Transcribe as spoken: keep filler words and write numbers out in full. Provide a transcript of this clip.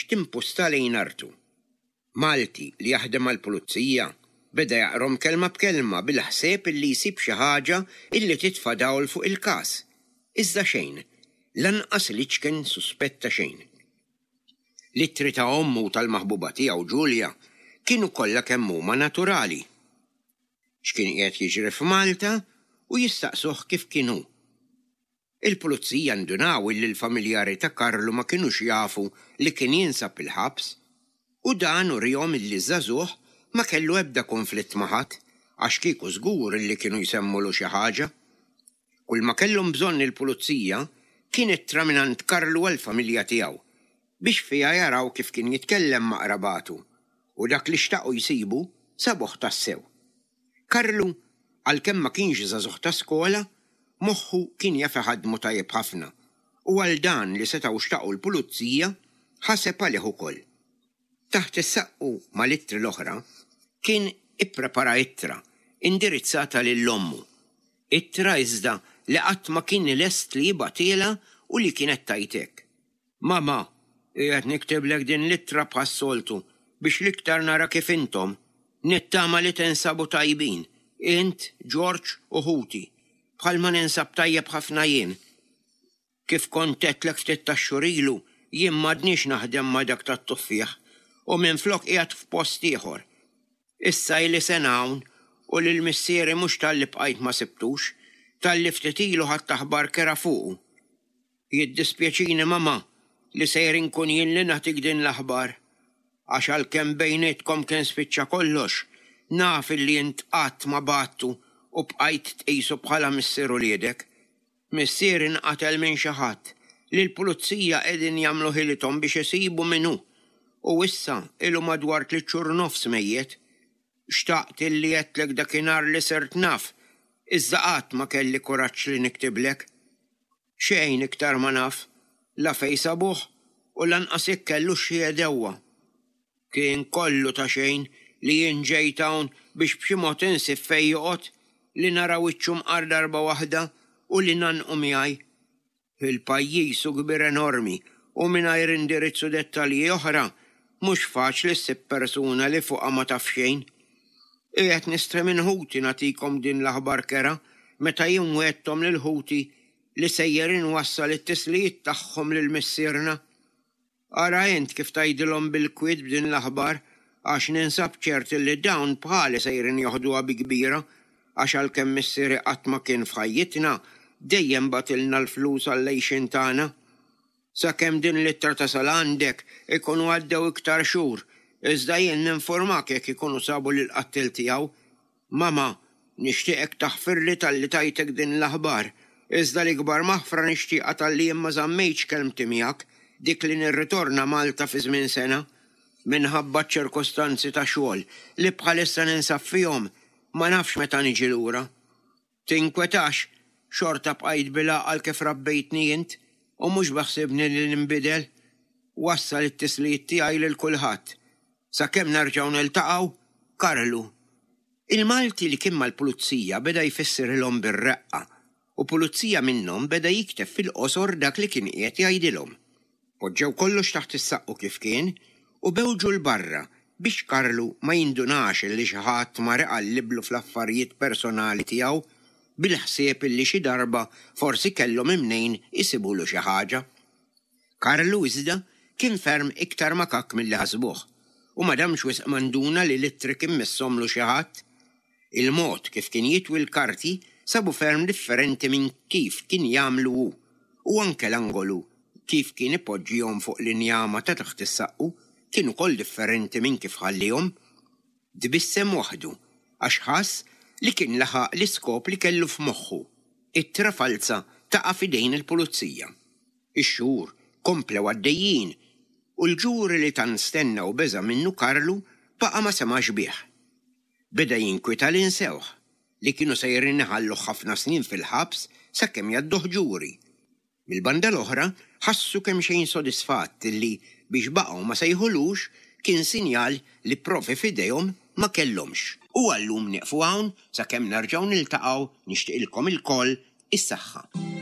biex timpusta lejn artu. Malti li jaħdem għall-pulizija beda jaqrahom kelma b'kelma bil-ħsieb illi jsib xi ħaġa illi titfa' dawl fuq il-każ. Iżda xejn, lanqas l-iċken suspett ta' xejn. L-ittri ta' ommu tal-maħbuba tiegħu Ġulja kienu kollha kemm huma naturali. X'kien qiegħed jiġri f'Malta u jistaqsuh kif kienu. Il-pulizija ndunaw illi l-familjari ta' Karlu ma kinux jafu li kien jinsab il-ħabs u dan urihom illi żagħżugħ ma kellu ebda konflitt ma' ħadd għax kieku żgur illi kienu jsemmulu xi ħaġa. Kull ma kellhom bżonn il-pulizija kien ittra mingħand Karlu għall-familja tiegħu biex fiha jaraw kif kien jitkellem ma' qrabatu u dak li xtaqu jsibu sabuh tassew. Karlu, għalkemm ma kienx żagħżugħ ta' skola, moħħu kien jaf iħaddmu tajjeb ħafna u għal dan li setgħu xtaqu l-pulizija ħaseb għalih ukoll. Taħt is-saqqu mal-ittri l-oħra kien ipprepara ittra indirizzata lil ommu. Ittra iżda li qatt ma kien lest li jibgħathielha u li kienet tgħid hekk. Mama, qiegħed niktiblek din l-ittra bħas-soltu biex l-iktar nara kif intom, nittama li tinsabu tajbin, int, George u ħuti, bħalma ninsab tajjeb ħafna jien. Kif kont għedtlek ftit tax-xhur ilu, jien m'għadniex naħdem ma' dak tat-tuffieħ u minflok qiegħed f'post ieħor. Issa ili sena hawn u lil missieri mhux talli bqajt ma sibtux, talli ftit ilu ħadt aħbar kerha fuqu. Jiddispjaċini mama li sejr inkun jien li nagħtik din l-aħbar. Għax għalkemm bejnietkom kien spiċċa kollox, naf illi int qatt ma bgħadtu u bqajt tqisu bħala missier uliedek. Missieri nqatel minn xi ħadd li l-pulizija qegħdin jagħmlu ħilithom biex isibu min hu. U issa ilu madwar tliet xhur nofs mejjet. Xtaqt illi għedtlek dakinhar li sirt naf, iżda qatt ma kelli kuraġġ li niktiblek. Xejn iktar ma naf, la fejn sabuh u lanqas jekk kellu xi għedewwa. Kien kollu ta' xejn li jien ġejt hawn biex b'xi mod insib fejn joqgħod, li nara wiċċu mqar darba waħda u li ngħannqu miegħi. Il-pajjiż hu kbir enormi u mingħajr indirizz u dettalji oħra mhux faċli ssib persuna li fuqha ma taf xejn. Qiegħed nistħi minn ħuti nagħtikom din l-aħbar kerha meta jien wegħedthom lil ħuti li sejjer inwassal it-tislijiet tagħhom lil missierna. Ara int kif tgħidilhom bil-kwiet b'din l-aħbar għax ninsab ċert li dawn bħali sejrin joħduha bi kbira għax għalkemm missieri qatt ma kien f'ħajjitna dejjem bagħtilna l-flus għall-għixien tagħna. Sakemm din l-ittra tasal għandek ikunu għaddew iktar xhur, iżda jien ninformak jekk ikunu sabu lill-qattil tiegħu. Mama, nixtieqek taħfirli talli tajtek din l-aħbar, iżda l-ikbar maħfra nixtieqha talli jien ma żammejtx kelmti miegħek, dik li nirritorna Malta fi żmien sena. Minħabba ċ-ċirkostanzi ta' xogħol li bħalissa ninsab fihom, ma nafx meta niġi lura. Tinkwetax, xorta bqajt bil-għaqal kif rabbejtni int u mhux beħsibni li ninbidel. Wassal it-tislijiet tiegħi lil kulħadd. Sakemm nerġgħu niltaqgħu, Karlu. Il-Malti li kien mal-pulizija beda jfissirhom bir-reqqa u pulizija minnhom beda jikteb fil-qosor dak li kien qiegħed jgħidilhom. Poġġew kollox taħt is-saqqu kif kien u bewġu 'l barra biex Karlu ma jindunax li xi ħadd mar iqalliblu fl-affarijiet personali tiegħu bil-ħsieb illi xi darba forsi kellhom imnejn isibulu xi ħaġa. Karlu iżda kien ferm iktar makak milli ħasbuh u ma damx wisq ma nduna li l-ittri kien messomlu xi ħadd. Il-mod kif kien jitwi l-karti sabu ferm differenti minn kif kien jagħmlu hu u anke l-angolu kif kien ipoġġihom fuq l-injama ta' taħt is-saqqu kien ukoll differenti minn kif ħallihom. Tbissem waħdu għax ħass li kien laħaq l-iskop li kellu f'moħħu. Ittra falza taqa' f'idejn il-pulizija. Ix-xhur komplew għaddejjin u l-ġuri li tant stenna u beża' minnu Karlu baqa' ma semax bih. Beda jinkwita li nsewh li kienu sejrin iħalluh ħafna snin fil-ħabs sakemm jgħadduh ġuri. Mill-banda l-oħra ħassu kemm xejn sodisfatt li biex baqgħu ma sejħulux kien sinjal li provi f'idejhom ma kellhomx. U għallum nieqfu hawn sakemm nerġgħu niltaqgħu nixtieqilkom ilkoll is-saħħa.